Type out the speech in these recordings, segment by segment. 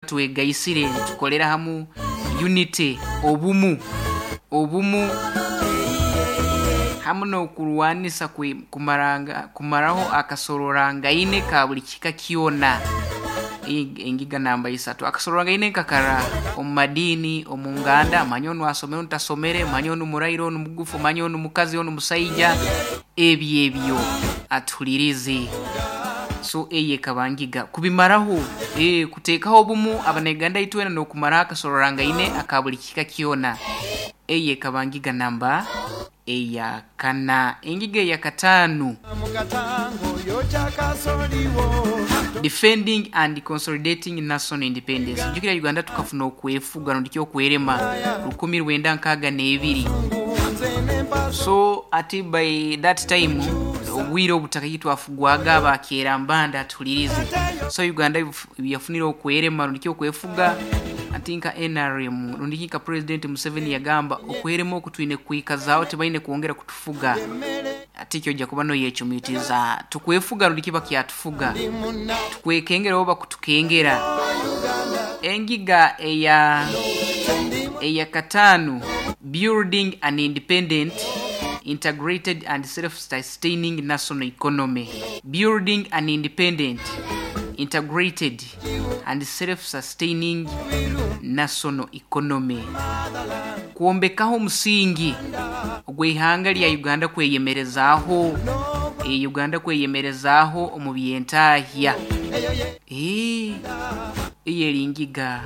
Twegaisire nitukolera hamu, unity, obumu, obumu hamu n'okurwanisa kumaranga kumaraho akasororangaine ka buli kika kyona. Engiga namba isatu, akasororangaine nkakara omu madiini, omu nganda, manya onu asomere onu tasomere, manya onu muraire onu mugufu, manya onu mukazi onu musaija, ebyo ebyo atuhulirize. So eyo ekaba ngiga kubimaraho, kuteekaho obumu Abanauganda itwena n'okumaraho akasororangaine aka buli kika kyona. Eyo ekaba ngiga namba eya kana. Engiga eya kataanu, Defending and Consolidating National Independence. Jukira Uganda tukafuna okwefuga rundi ki okwerema 1962. So ati by that time obwire obutaka titwafugwaga aba Kyerambanda atuhulirize. So Uganda yafunire okwerema rundi ki okwefuga ati nka NRM rundi ki nka President Museveni yagamba okwerema oku twine kwikazaaho, tibaine kwongera kutufuga. Ati kyoja kuba noyecumitiza tukwefuga rundi ki bakyatufuga, tukwekengera oba bakutukengera. Engiga eya kataanu, building an independent, integrated and self-sustaining national economy. Building an independent, integrated and self-sustaining national economy. Kwombekaho omusingi ogw'eihanga lya Uganda kweyemerezaaho, Uganda kweyemerezaaho omu byentahya. Eyo eri ngiga,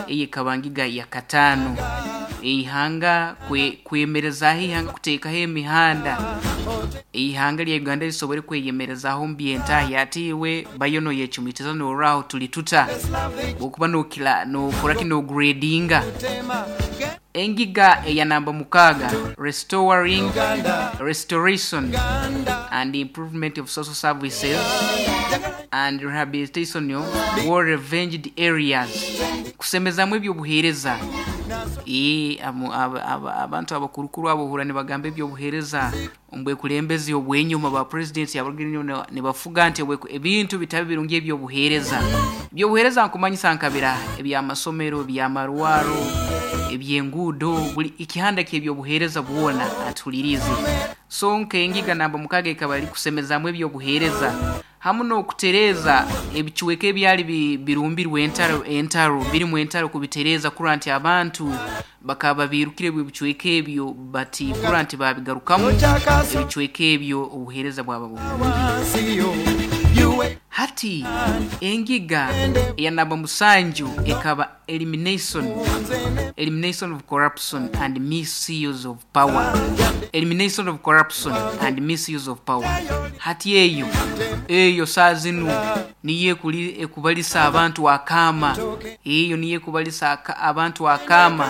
eyo ekaba ngiga ya kataano. Eihanga kwemerezaaho eihanga kuteekaho emihanda, eihanga lya Uganda lisobole kweyemerezaaho omu byentahya. Ati iwe bayo noyecumitiza norora tuli tuta bwokuba nokira nokora ki nogredinga. Engiga eya namba 6, restoring, restoration and improvement of social services and rehabilitation of war revenged areas. Kusemezamu ebyobuheereza. Abantu abakurukuru abo ohurra nibagamba ebyobuheereza omu bwekulembezi obw'enyuma ba president abarugire nibafuga nti ebintu bitali birungi ebyobuheereza. Ebyobuheereza nkumanyisa nkabira eby'amasomero, eby'amarwaro, eby'enguudo, buli ekihanda ky'ebyobuheereza bwona atuhulirize. So nk'engiga namba 6 ekaba eri kusemezamu ebyobuheereza hamu n'okutereeza ebicweka ebyali birumbirwe entaro, entaro birimu entaro kubitereeza kurora nti abantu bakaba babiirukire ebicweka ebyo bati kurora nti babigarukamu ebicweka ebyo obuheereza bwaba burungi. Hati engiga eya namba 7 ekaba elimination of corruption and misuse of power. Elimination of corruption and misuse of power. Hati eyo saa zinu niyo ekubalisa abantu akaama. Eyo niyo ekubalisa abantu akaama.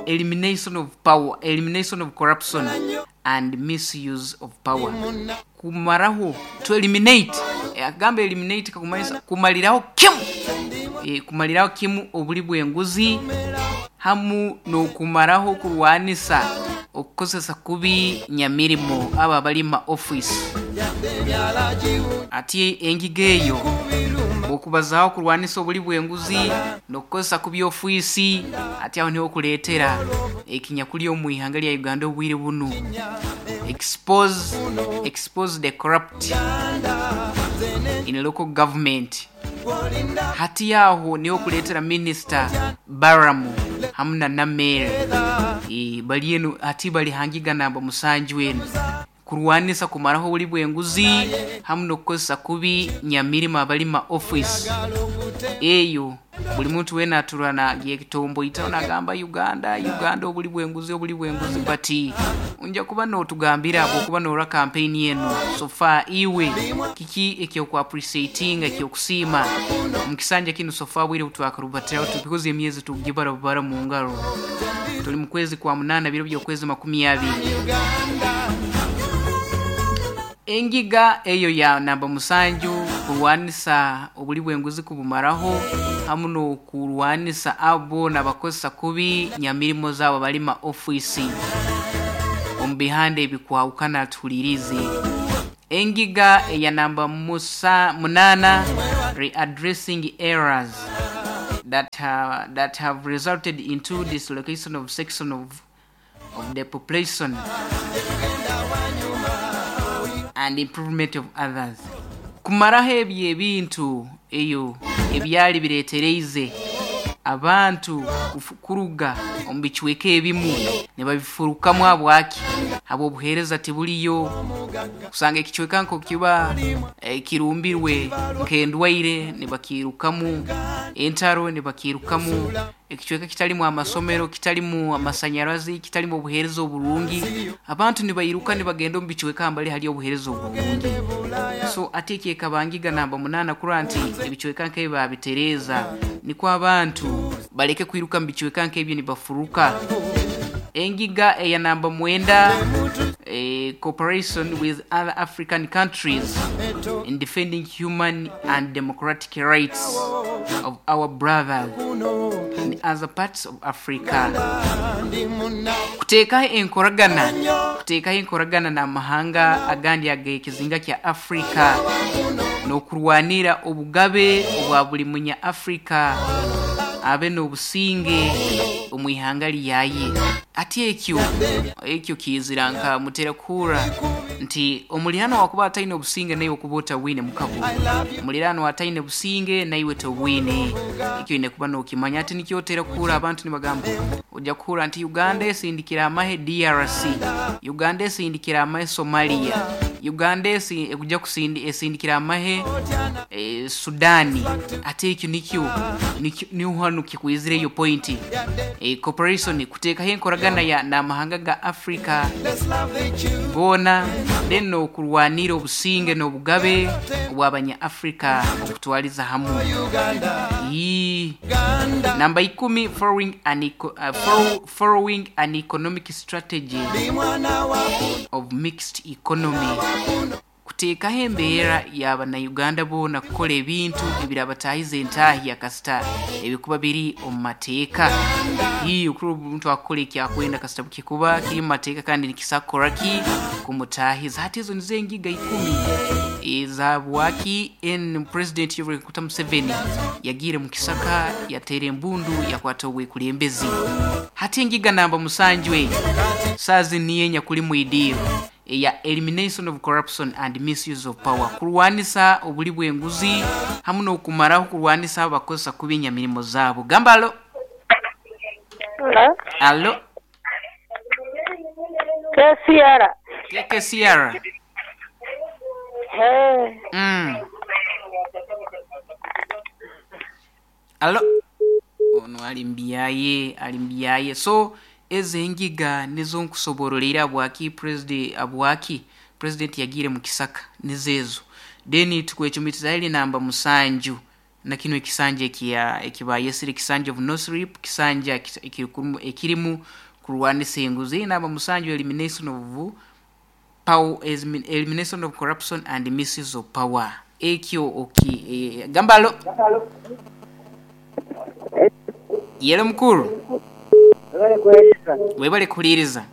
Elimination of power, elimination of corruption and misuse of power. Kumaraho, to eliminate. Agamba eliminate kakumanyisa kumaliraho kimu. Kumaliraho kimu obuli bw'enguzi hamu n'okumaraho kurwanisa okukozesa kubi nyamirimo abo abali ma office. Ati engiga eyo okubazaaho kurwanisa obuli bw'enguzi n'okukozesa kubi ofiisi, ati aho niho okuleetera ekinyakuli omu ihanga lya Uganda obwire bunu. Expose the corrupt in local government. Hati aho niho okuleetera Minisita Baramu hamu na Namere. Bali enu hati bali ha ngiga namba 7 enu. Kurwanisa kumaraho obuli bw'enguzi hamu n'okukozesa kubi nyamirimo abali ma office. Eyo buli muntu weena aturwa nayetomboitaho nagamba Uganda, Uganda obuli bw'enguzi, obuli bw'enguzi, but nja kuba notugambira bwokuba norora campaign eno so far iwe kiki ekyoku appreciatinga, ekyokusiima omu kisanja kinu so far bwire butwakarubatiraho because emyezi tugibara bubara mu ngaro. Tuli mu kwezi kwa 8, biro by'okwezi 20. Engiga eyo ya namba 7, kurwanisa obuli bw'enguzi kubumaraho hamu n'okurwanisa abo n'abakozesa kubi nyamirimo zaabo bali ma ofiisi omu bihanda ebikwahukana tuhulirize. Engiga eya namba 8, readdressing errors that have resulted into dislocation of section of the population and improvement of others. Kumaraho ebyo ebintu eyo ebyali bireetereize abantu kuruga omu bicweka ebimu ne babifurukamu habwaki habw'obuheereza tibuliyo. Kusanga ekicweka nko kiba kirumbirwe nk'endwaire nibakiirukamu, entaro nibakiirukamu, ekicweka kitalimu amasomero, kitalimu amasanyarazi, kitalimu obuheereza oburungi, abantu nibairuka nibagenda omu bicweka mbali hali obuheereza oburungi. So ate ekyekabangiga namba 8 kurora nti ebicweka nk'ebi babitereeza nikwo abantu baleke kwiruka mu bicweka nk'ebyo nibafuruka. Engiga eya namba 9, cooperation with other African countries in defending human and democratic rights of our brothers in other parts of Africa. Kuteekaho enkoragana n'amahanga agandi ag'ekizinga kya Africa n'okurwanira obugabe obwa buli munya Africa abe n'obusinge omu ihanga lyaye. Ati ekyo kizira nka mutera kuhurra nti omuliraano wakuba ataine obusinge naiwe okuba otabwine mukago, omuliraano ataine businge naiwe tobwine. Ekyo oine kuba n'okimanya. Ati nikyo otera kuhurra abantu nibagamba, ojja kuhurra nti Uganda esindikira amahe DRC, Uganda esindikira amahe Somalia, Uganda ekuja esindikira amahe Sudani. Ate ekyo nikyo niho hanu kikwizira eyo point. Cooperation, kuteekaho enkoragana ya n'amahanga ga Africa goona, then n'okurwanira obusinge n'obugabe obw'abanya Africa okutwaliza hamu. Ii. Namba 10, following an economic strategy of mixed economy, kuteekaho embeera y'abannayuganda boona kukora ebintu ebirabataahiza entaahi kasita ebikuba biri omu mateeka. Ii, okuri omuntu akukora ekyakwenda kasita kikuba kiri mu mateeka kandi nikisa kukora ki kumutaahiza. Hati ezo nizo engiga 10 ezabwaki n President Yoweri Kaguta Museveni yagiire mu kisaka yateera embundu yakwata obwekulembezi. Hati engiga namba 7 eyo saazi niyo enyakuli mwidiiro eya elimination of corruption and misuse of power, kurwanisa obuli bw'enguzi hamu n'okumaraho kurwanisa abakozesa kubi enyamirimo zaabo. Gamba alo. Hello? Alo. KCR. KKCR. Hey. Alo, ono ali mbyaye, ali mbyaye. So ezo engiga nizo nkusoborolera abwaki president yagiire mu kisaka, nizo ezo. Then tukwecumitiza eri namba 7 na kino ekisanja ekiya ekibayesire ekisanja of no sleep, kisanja ekirimu kurwanisa enguzi. Namba 7, elimination of power, elimination of corruption and misuse of power. Ekyo oki gamba alo. Yelo mukuru. Webale kuweereza. Webale kuhuliriza.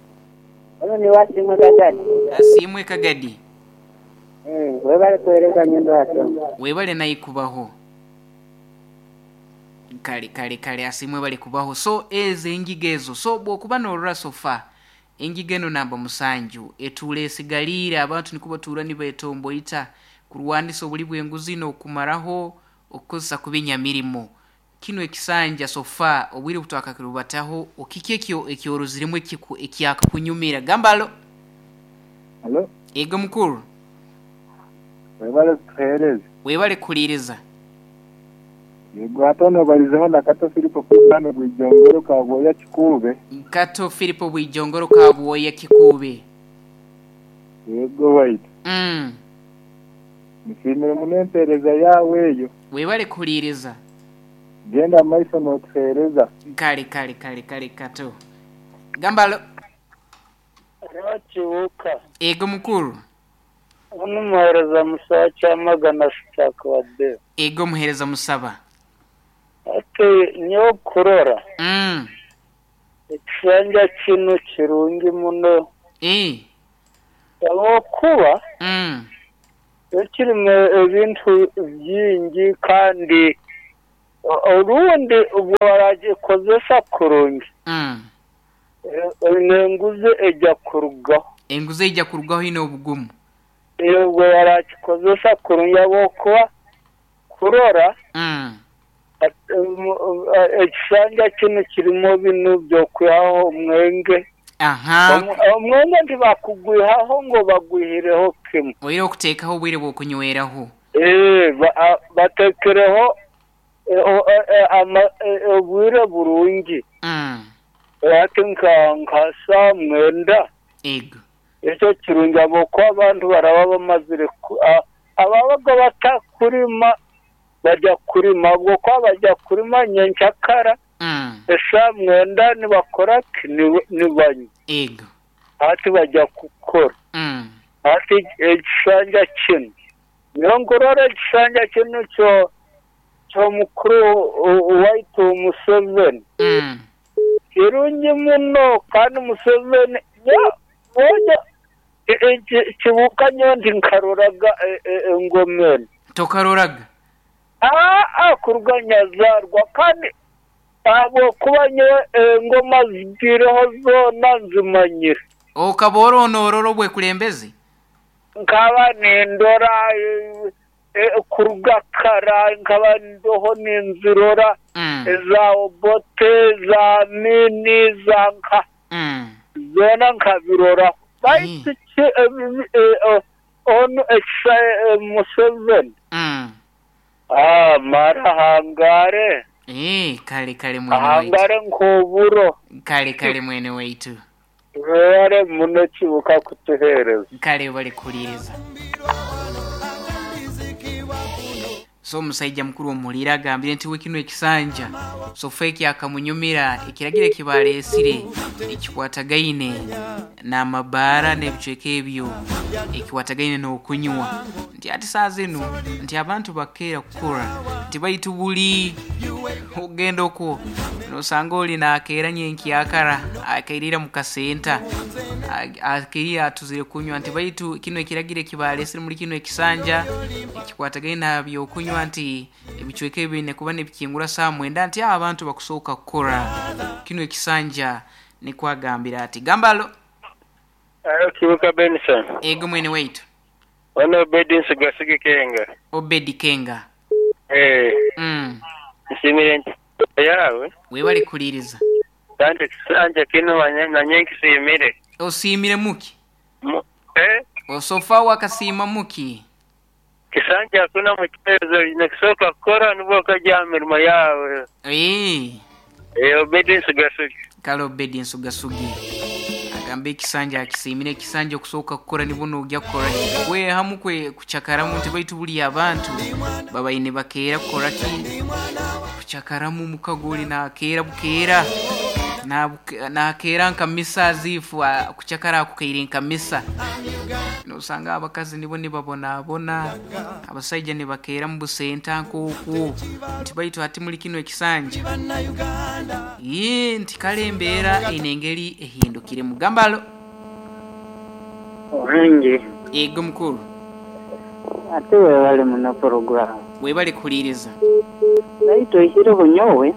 Ono ni Wasimwe Kagadi. Asimwe Kagadi. Webale kuweereza nyendo wasoma. Webale naye kubaho. Kale kale kale, asimwe bali kubaho. So ezo engiga ezo, so bw'okuba n'orora sofa engiga eno namba 7 etuula esigaliire abantu niko batuura nibetomboita kurwanisa obuli bw'enguzi n'okumaraho okukozesa kubi enyamirimo. Kino ekisanja sofa obwire butwakakirubataho okiki ekyo ekyoroziremu ekyakakunyumira. Gamba alo. Alo. Ego mukuru. Webale kutuheereza. Webale kuhuliriza. Yego, hata balizeho na Kato Filipo Kugano Bwijongoro Kabwoya Kikuube. Kato Filipo Bwijongoro Kabwoya Kikuube. Yego waitu. Nsiimire muno empeereza yawe eyo. Webale kuhuliriza. Genda maiso n'otuheereza. Kale kale kale kale Kato. Gamba alo. Kibuka. Ego mukuru. Ono muhereza musaba kyamagana sitakwade. Ego muhereza musaba. Ate nyo kurora. Ekisanja kino kirungi muno. Olwokuba ekirimu ebintu bingi kandi Orundi ubwo baragikozesa kurungi, n'enguzi ejya kurugaho. Enguzi ejya kurugaho ine obugumu. Ubwo barakikozesa kurungi habwokuba kurora ekisanja kinu kirimu binu by'okwihaho omwenge. Aha. Omwenge ntibakugwihaho ngo bagwihireho kimu. Oire okuteekaho obwire bw'okunyweraho. Batekereho obwire burungi. Ati nka saa 9. Ego. Ekyo kirungi habwokuba abantu baraba bamazire ababaga batakurima bajya kurima, habwokuba bajya kurima nyenkyakara esaa 9 nibakora ki? Nibanywa. Ego. Ati bajya kukora. Ati ekisanja kinu niyo nkurora ekisanja kinu ky'omukuru waitu Museveni. Kirungi muno kandi Museveni kibuka nyowe nkaroraga engoma enu. Tokaroraga? Kuruga nyazarwa kandi habwokuba nyowe engoma zigireho zoona nzimanyire. Okaba oronorora obwekulembeze? Nkaba nindora kuruga kara, nkaba ndoho ninzirora eza Obote, za Amini, za nka zoona nkabiroraho. Baitu onu Museveni. Mara hangare. Kale kale mwene waitu. Hangare nk'oburo. Kale kale mwene waitu. Webale muno kibuka kutuheereza. Kale bali kuhuliriza. So omusajja mukuru omuhulire agambire nti we kino ekisanja sofa akamunyumira ekiragiro ekibaleesire ekikwatagaine n'amabaara n'ebicweka ebyo ekikwatagaine n'okunywa, nti ati saa zinu nti abantu bakeera kukora nti baitu buli ogenda okwo nosanga oli nakeera nyenkyakara akairira mu kasenta akairira atuzire kunywa, nti baitu kino ekiragiro ekibaleesire muri kino ekisanja ekikwatagaine n'ebyokunywa nti ebicweka ebi biine kuba nibikingura saa 9 nti abantu bakusooka kukora kino ekisanja nikwagambira ati gambalo. Kibuka Benson. Ego mwene waitu. Ono Obedi Nsugasigi Kenga. Obedi Kenga. Nsimire nti yawe. Webale kuliriza. Kandi ekisanja kino nanye nkisimire. Osimire muki? Osofa wakasima muki? Kisanja hakuna mchezo, inakisoka kukora nibwo okajja mirimo yawe. Obedi Nsugasigi. Kale Obedi Nsugasugi. Agamba ekisanja akisimire, ekisanja okusooka kukora nibwo nojya kukora ki? Kwehamu kwe kucakaramu nti baitu buli abantu babaine bakeera kukora ki? Kucakaramu mukago oli nakeera bukeera. Nakeera nka misa azifu kucakara akukaire nka misa. Nosanga abakazi nibo nibabonabona, abasaija nibakeera mu busenta nk'okwo nti baitu ati muri kino ekisanja nti kale embeera eine engeri ehindukire. Mugambalo. Ohange. Ego mukuru. Ate webale muno program. Webale kuhuliriza. Baitu oihireho nyowe.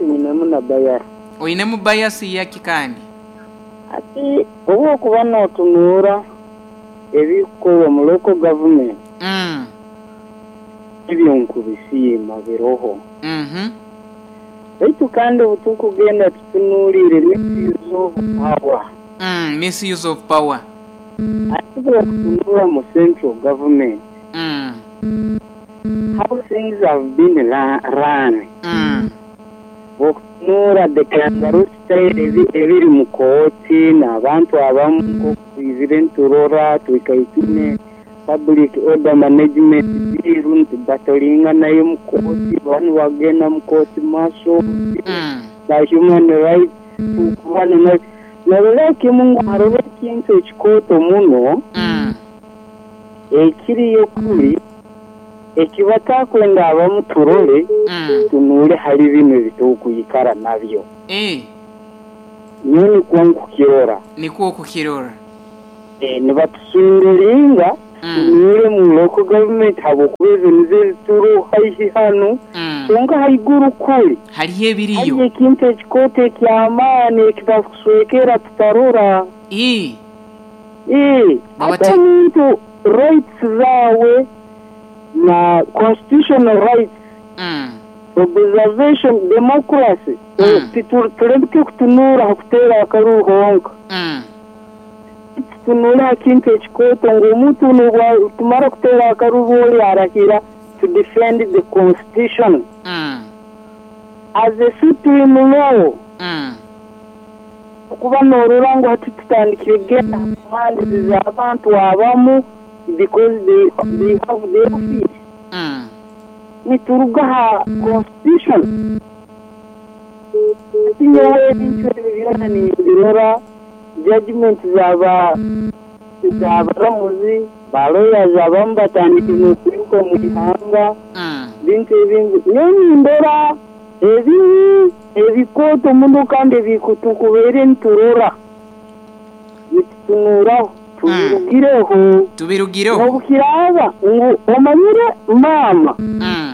Nyinemu na bayasi. Oinemu bayasi yaki kandi? Ati obwokuba n'otunuura ebikorwa mu local government. Ebyo nkubisiima biroho. Baitu kandi obutukugenda tutunuulire misuse of power. Misuse of power. Ati bwokutunuura mu central government. How things have been run. Bwokutunuura the kangaroo style ebiri mu kooti n'abantu abamu nk'okwizire nturora twikaitine public order management bill nti batolinga nayo mu kooti, banu bagenda mu kooti maaso ba human rights tukubana narora kimu ngu haroho ekintu ekikooto muno ekiriyo kuri ekibatakwenda abamu turole tunuule hali bino ebitukwikara nabyo. Nyowe nikwo nkukirora. Nikwo okukirora. Nibatusunduringa Tutunuule mu local government habwokuba ezo nizo ezituri haihi hanu. Kwonka haiguru kuri Hariyo hariyo ebiriyo. ekintu ekikooto eky'amaani ekibakuswekera tutarora. Ii, Baba hati omuntu rights zaawe na constitutional rights, observation, democracy, tuleke kutunuura ha kuteera akaruru honka. Tutunuule ha kintu ekikooto ngu omuntu n'obu tumara kuteera akaruru oli arahira to defend the constitution as a supreme law. Okuba noorora ngu hati tutandikire kugenda ha commands z'abantu abamu because they have the office. Nituruga ha constitution. Hati nyowe ebintu ebi byona nimbirora, judgment z'abaramuzi, ba lawyers abamu batandikire n'okwiruka omu ihanga, bintu ebindi. Nyowe nindora ebibi ebikooto muno kandi ebitukubaire niturora, nitutunuuraho, tubirugireho. Tubirugireho. N'obukiraaba ngu omanyire maama,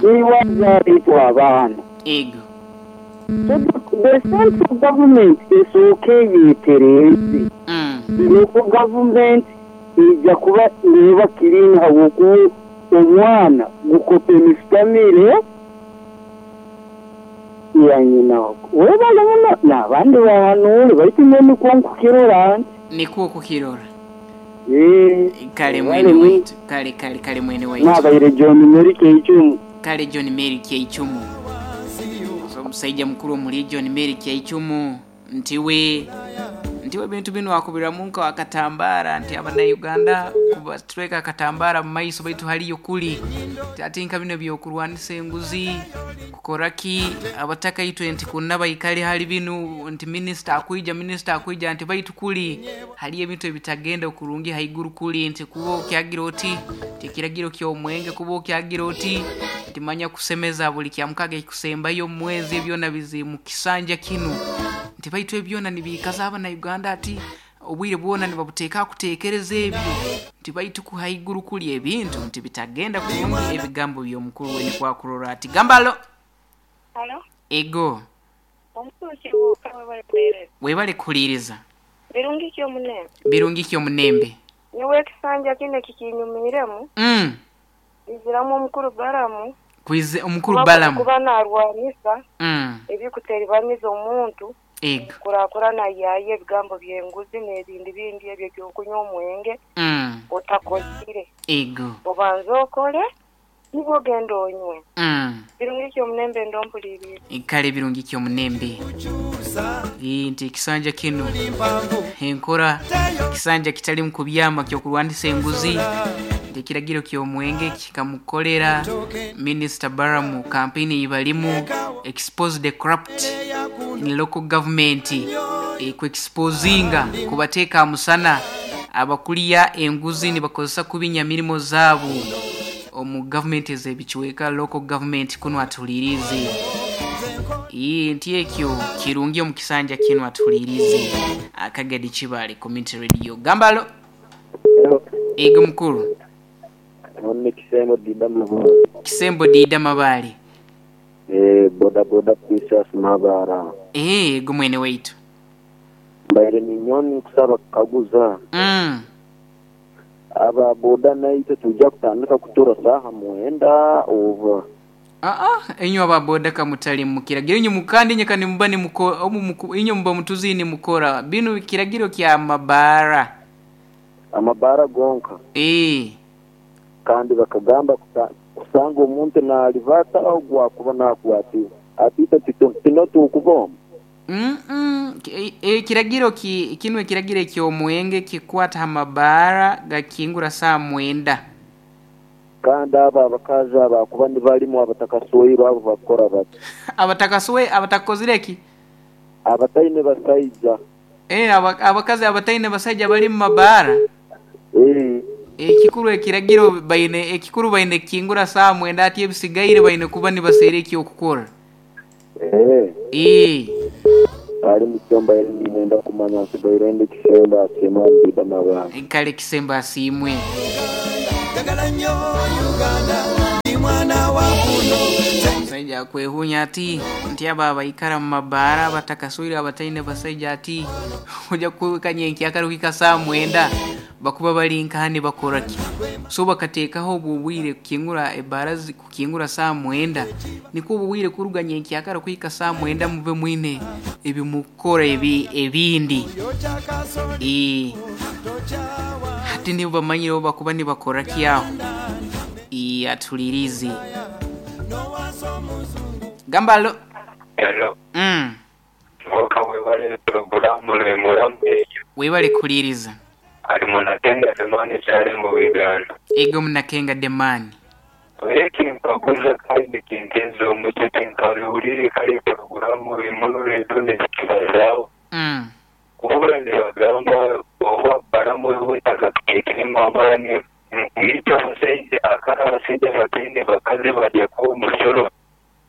niiwe azaara itwe abaana. Ego. So the central government esooke eyetereeze. Local government ija kuba neeba clean habwokuba omwana gukopa emisitamire ya nyina. Webale muno n'abandi bahanuure baitu nyowe nikwo nkukirora nti. Nikwo okukirora. Kale Webale mwene muno. waitu. Kale kale kale mwene waitu. Nabaire John Mary Keichumu. Kale John Mary Keichumu. So omusaija mukuru omuri John Mary Keichumu ntiwe ebintu binu akubiramu nka akatambara nti abannayuganda kubatweka akatambara mu maiso baitu haliyo kuli ati nka bino byokurwanisa enguzi kukoraki abataka itwe nti kunna baikale hali binu nti minisita akwija nti baitu kuli haliyo ebintu ebitagenda okurungi haiguru kuli nti kuba okyagira oti nti ekiragiro ky'omwenge kuba okyagira oti nti manya kusemeza buli kyamukaga ekikusembayo omu mwezi ebyona bizi mu kisanja kinu nti baitu ebyona nibiikaza abannayuganda ati obwire bwona nibabuteeka kuteekereza ebyo nti baitu ku haiguru kuli ebintu nti bitagenda kurungi ebigambo by'omukuru we nikwakurora ati gambalo. Halo? Ego. Omukuru Kibuuka webale kuheereza. Webale kuhuliiriza. Birungi ki omunembe? Birungi ki omunembe? Nyowe ekisanja kinu ekikinyumiiremu, iziramu omukuru Balamu. Kwize omukuru Balamu. Kuba naarwanisa ebikuteribaniza omuntu. Ego. Kurakurana yaaya ebigambo by'enguzi n'ebindi bindi ebyo eby'okunywa omwenge otakozire. Ego. Obanze okole nibwo ogenda onywe. Birungi ki omunembe ndompuliiriza. Kale birungi ki omunembe. Nti ekisanja kinu enkora kisanja kitali mu kubyama kyokurwanisa enguzi nti ekiragiro ky'omwenge kikamukolera Minisita Balamu kampeyini eyibalimu expose the corrupt in local government, kuexposinga kubateeka musana abakulya enguzi nibakozesa kubinya mirimo zaabo omu government ez'ebicweka local government kunu atuliirize. Nti ekyo kirungi omu kisanja kinu atuliirize. Akagadi Kibaale Community Radio. Gambalo. Ego mukuru. None Kisembo Dida Mabale. Kisembo Dida Mabale. Boda boda Princess Mabara. Ego mwene waitu. Mbaire ninyoni kusaba kukaguza. Aba boda naitwe tujja kutandika kutura saha 9 over. Inywe aba boda kamutali mu kiragiro inyu mukandi inye kandi muba inyu muba mutuzini mukora binu kiragiro kya mabara. Amabara gonka. Kandi bakagamba kusanga omuntu nalivata au gwakuba nakwatiwa. Atita tinotu okuboma. Kiragiro kinu ekiragiro eky'omwenge kikwata amabara gakingura saa 9. Kandi aba abakazi abakuba nibalimu abatakasoirwe abo bakora bati. Abatakasowe abatakozire ki? Abataine basaija. Abakazi abataine basaija bali mu mabara. Ekikuru ekiragiro baine ekikuru baine kingura saa 9 ati ebisigaire baine kuba nibaseera ekyokukora. Ali mukyomba nenda kumanya nsigaire ndi Kisembo asiimwe Dida Mabale. Kale Kisembo asiimwe. Omusaija akwehunya ati nti abo abaikara mu mabaara abatakaswire abataine basaija ati oja kuhika nyenkyakara kuhika saa 9 bakuba bali nkaha nibakora ki. So bakateekaho obwo obwire kukingura ebaara kukingura saa 9 nikwo obwire kuruga nyenkyakara kuhika saa 9 mube mwine ebimukukora ebindi. Hati nibo bamanyire obu bakuba nibakora ki aho. Atulirize. Gamba alo. Hello. Mwoka webale puroguramu nemuramu eyo. Webale kuliriza. Ali munakenga Demani kyali mu Uganda. Ego munakenga Demani. Ekinkaguza kandi kinteeza omutwe tinkaruhurire kale puroguramu emurore nekibazaaho. Wabula nibagamba oba baramu obutaka kuteekemu amaani itwe abasaija akara abasaija bataine bakazi bajja kuba omusoro.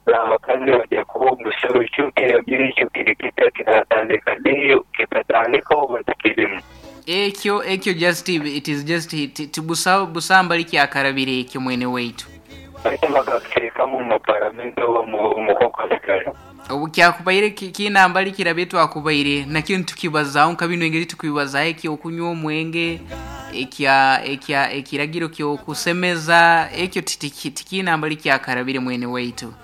Abakazi bajja kuba omusoro kyo kiragiro ekyo kiri kita kiratandika ddi kikatandika oba tikirimu. Ekyo just it is just tibusamba likyakarabire ekyo mwene waitu. Baitu bakakuteekamu mu paramenti oba mu kokasigara. Obu kyakubaire kinamba likirabe twakubaire nakyo nitukibazaho nka bino engeri tukibazaho ekyokunywa omwenge ekya ekiragiro kyokusemeza ekyo tikinamba likyakarabire mwene waitu.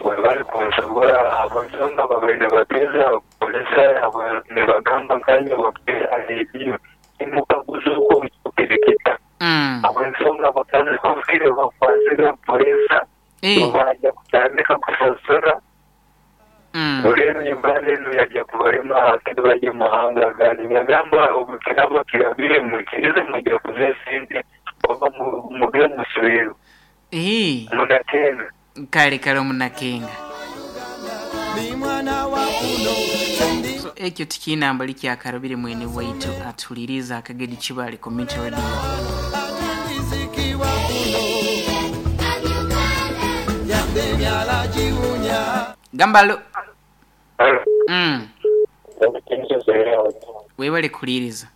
Webali kunsobora abasonga babaire bateeza polisa nibagamba nkanye bakuteera rediyo imukaguza okwo kirikita. Abasonga bakazi kufire bakwasire polisa bajja kutandika kusasura. Rero Uganda eno yajja kubalema hakiri bajja muhanga agandi. Nagamba obukiraba kirabire mukirize mujja kuza esente oba mugire musubiro. Munakenga. Kale kale omunakenga. So ekyo tikinamba likyakarabire mwene waitu atuliriza akagedi Kibale Community Radio. Gambalo. Webale kuliriza.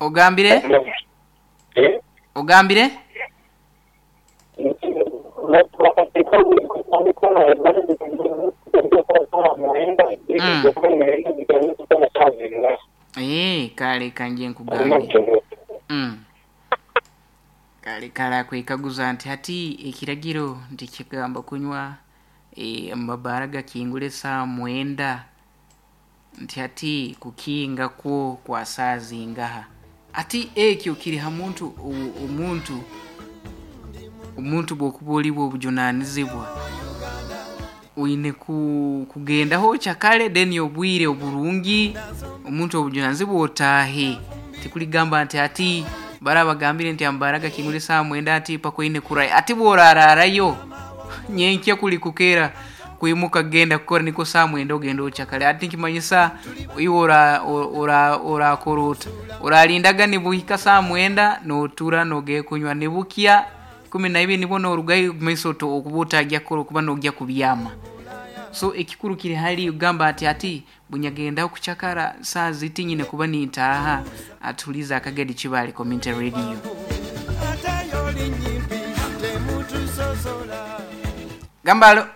Ogambire? Ogambire? Kale kanje nkugambire. Kale kale akwekaguza nti hati ekiragiro nti kigamba kunywa amabara gakingule saa 9 nti hati kukinga kwo kwa saa zingaha. Ati ekyo kiri ha muntu omuntu bwokuba oli obujunanizibwa oine kugendaho kyakale then obwire oburungi omuntu obujunanizibwa otaahe. Tikuligamba nti ati barabagambire nti ambara gakingule saa 9 ati pakoine kurai ati borararayo nyenkya kuli kukera kuimuka genda kukora niko saa 9 ogenda ochakale ati nkimanyisa iwe ora korota oralindaga nibuhika saa 9 notura noge kunywa nibukia 12 nibo norugayo maiso okubuta ajya kukora okuba nogya kubyama. So ekikuru kiri hali ugamba ati ati bunyagenda kuchakara saa zitinyine kuba nintaha atuliza akagedi Kibale Community Radio. Gambalo.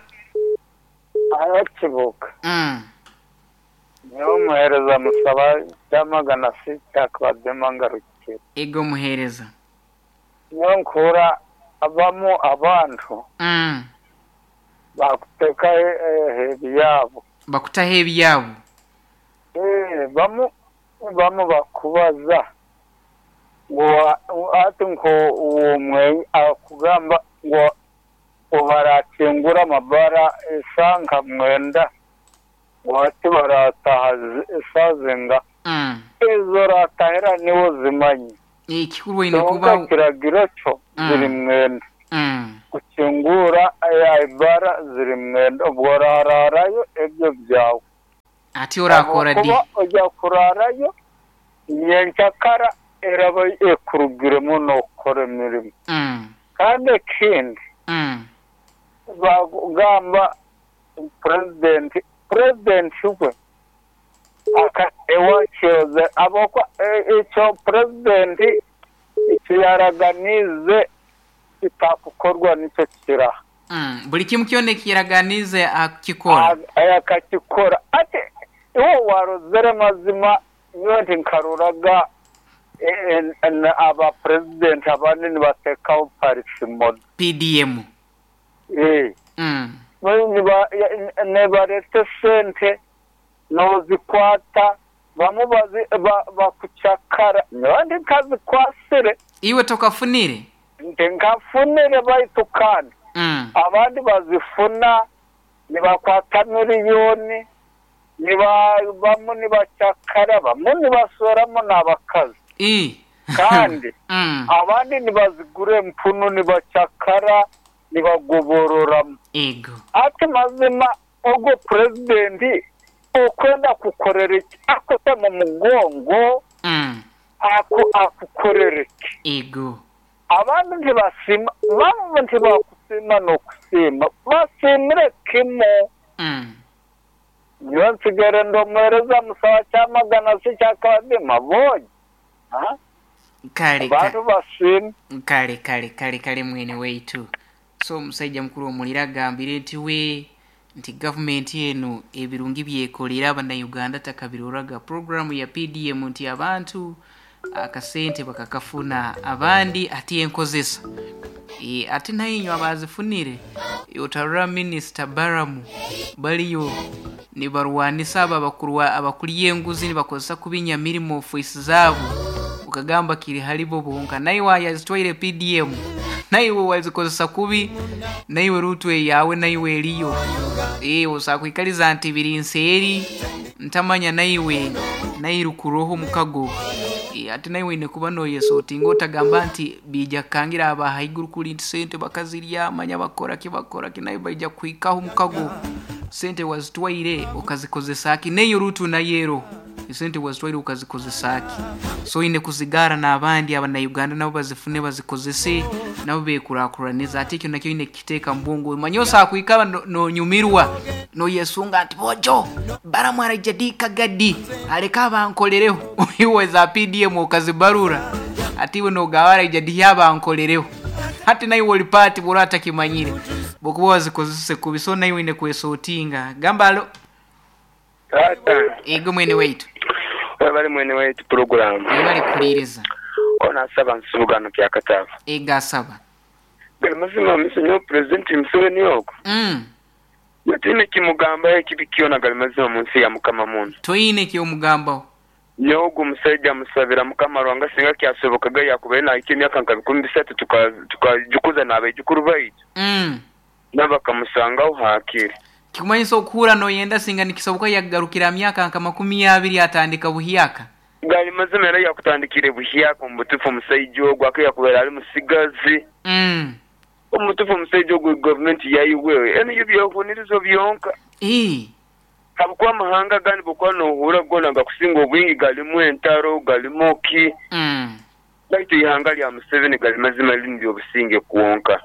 Ayo Kibuka. Niyo muhereza musaba byamagana sita kwadema ngarukire. Ego muhereza. Niyo nkura abamu abantu. Bakuteka ebyabo. Bakutaho ebyabo. Bamu bakubaza. Ngo ati nko uwo akugamba ngo barakingura amabara esanka mwenda wati barataha esazenga ezo ratahera niwo zimanyi ekikuru ine kuba kiragiro cyo ziri mwenda. Kukingura ebaara ziri mwenda obw'oraraarayo ebyo byawe. Ati orakora di? Habwokuba oja kuraarayo nyenkyakara eraba ekurugiremu n'okukora emirimo. Kandi ekindi bagamba purezidenti, purezidenti we ewakyoze habwokuba ekyo purezidenti eki yaraganiize kitakukorwa nikyo kiraha. Buli kimu kyona eki yaraganiize akikora. Akakikora. Ati iwe warozere mazima nyowe tinkaroraga aba purezidenti abandi nibateekaho parisi modo. PDM. Nibareeta esente nozikwata bamu bakucakara nyowe tinkazikwasire. Iwe tokafunire? Tinkafunire baitu kandi abandi bazifuna nibakwata miliyoni bamu nibacakara bamu nibasweramu n'abakazi. Kandi abandi nibazigura empunu nibacakara nibagobororamu. Ati mazima ogwo purezidenti okwenda kukorera ki? Akute mu mugongo akukorere ki? Abandi ntibasiima, bamu tibakusiima n'okusiima, basiimire kimu. Nyowe nsigaire ndi omuheereza musawa Kyamagana si kyakabadima boogi. Kale Abantu basiime. Kale kale kale kale mwene waitu. So omusaija mukuru omulira agambire nti we nti gavumenti eno ebirungi byekolera abannayuganda takabiroraga. Puroguramu ya PDM nti abantu akasente bakakafuna abandi ati enkozesa. Ate naye inywe abazifunire otarora minisita Baramu baliyo nibarwanisa abo abakulya enguzi nibakozesa kubinya mirimo ofiisi zaabo okagamba kiri haribo bonka. Naiwe wayazitwaire PDM naiwe wazikozesa kubi naiwe rutu eyawe naiwe eriyo. Osobola kwikaliza nti biri nseeri ntamanya naiwe nairukuroho omukago. Ate naiwe oine kuba noyesotinga otagamba nti biija kukangira aba haiguru kuri nti sente bakazirya manya bakoraki bakoraki naiwe baija kuhikaho omukago. Sente wazitwaire okazikozesa ki? Neyo rutu nayo eroho. Esente wazitwaire okazikozesa ki? So oine kuzigaara n'abandi abannayuganda nabo bazifune bazikozese nabo beekurakuranize. Ate ekyo nakyo oine kukiteeka mu bwongo. Omanye osobola kwikara nonyumirwa noyesunga nti bojo Baramu araija di kagadi aleke abankolereho. Iwe eza PDM okazibarura ate iwe nogamba araija di abankolereho. Hati naiwe ori paati bw'oraba otakimanyire bw'okuba wazikozese kubi. So naiwe oine kwesotinga. Gamba alo. Taata. Ego mwene waitu. Webale mwene waitu pulogulaamu. Webale kuhuliriza. Ono asaba Nsubuga ano Kyakataba. Ego asaba. Gali mazima miso nyowe Pulezidenti Museveni ogu nyowe tiine kimugambaho ekibi kyona gali mazima munsi ya Mukama muno. Toine kyomugambaho. Nyowe ogu omusaija musabira Mukama Ruhanga singa kyasobokaga yakubaire nahikya emyaka nka 3000 tukajukuza n'abaijukuru baitu nabo bakamusangaho hakiri. Kikumanyisa okuhura noyenda singa nikisoboka yakugarukira aha myaka nka 20 atandika buhyaka. Gali mazima era yakutandikire buhyaka omu butufu omusaija ogu ake yakubaire ali musigazi. Omu butufu omusaija ogu gavumenti yaibwe enu yo byehunirizo byonka. Habwokuba amahanga agandi bwokuba nohura gona gakusinga obwingi galimu entaro, galimu ki, baitu eihanga lya Museveni gali mazima lirimu byobusinge kwonka.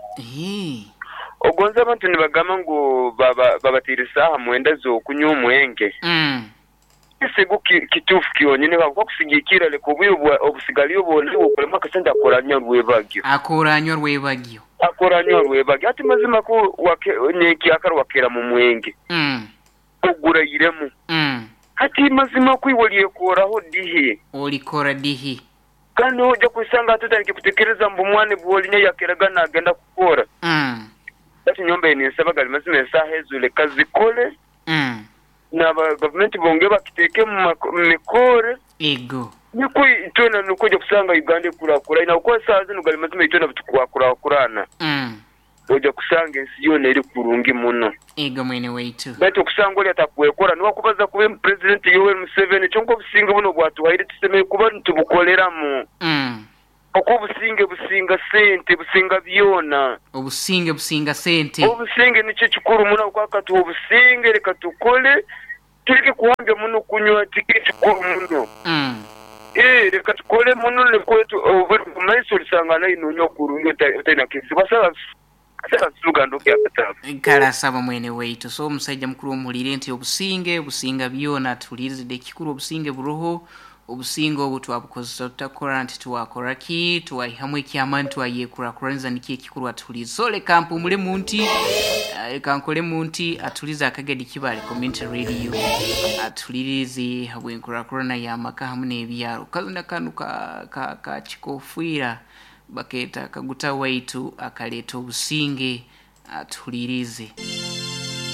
Ogonza abantu nibagamba ngu babateire esaaha mwenda z'okunywa omwenge. Ekisigo kituufu kyonyini habwokuba kusigikirra leka obwire obusigaliyo bwona iwe okoremu akasente akoranywa rwebagyo. Akoranywa rwebagyo. Akoranywa rwebagyo. Hati mazima ku nyenkyakara wakeera mu mwenge ogurairemu. Hati mazima ku iwe olyekoraho dihi? Olikora dihi? Kandi noija kwesanga hati otandikire kutekereza mbu omwana bwolinya yakeraga nagenda kukora. Baitu nyowe mbaire ninsaba gali mazima esaaha ezo leka zikole. N'aba gavumenti bongere bakiteeke mu mikoore. Ego. Nikwo itwena nikwo oija kusanga Uganda ekuraakuraine ahabw'okuba esaaha zinu gali mazima itwena butukwakuraakurana. Oija kusanga ensi yoona eri kurungi muno. Ego mwene waitu. Baitu okusanga ori atakwekora niwe akubaza kubi mbu Purezidenti Yoweri Museveni kyonka obusinge bunu obwatuhaire tusemeriire kuba nitubukoleramu. Oku obusinge businga sente, businga byona. Obusinge businga sente. Obusinge nikyo kikuru muno habwokuba akatuha obusinge leka tukole tuleke kuhambya muno kunywa tikiri kikuru muno. Eeh leka tukole muno nikwo obwire bw'omu maiso olisanga nayo nonywa kurungi otaine kizibu. Kale asaba mwene waitu. So omusaija mukuru omuhuliire nti obusinge businga byona tuhuliirize ekikuru obusinge buroho, obusinge obu twabukozesa tuta kurora nti twakora ki, twaihamu eky'amaani twayekurakuraniza nikyo ekikuru atuhuliirize. So leka mpumulemu nti, leka nkolemu nti atuhuliirize Akagedi Kibale Community Radio atuhuliirize habw'enkurakurana y'amaka hamu n'ebyaro. Kazina kanu ka, ka, ka kikofiira Bakeeta Kaguta waitu akaleeta obusinge atuhuliirize.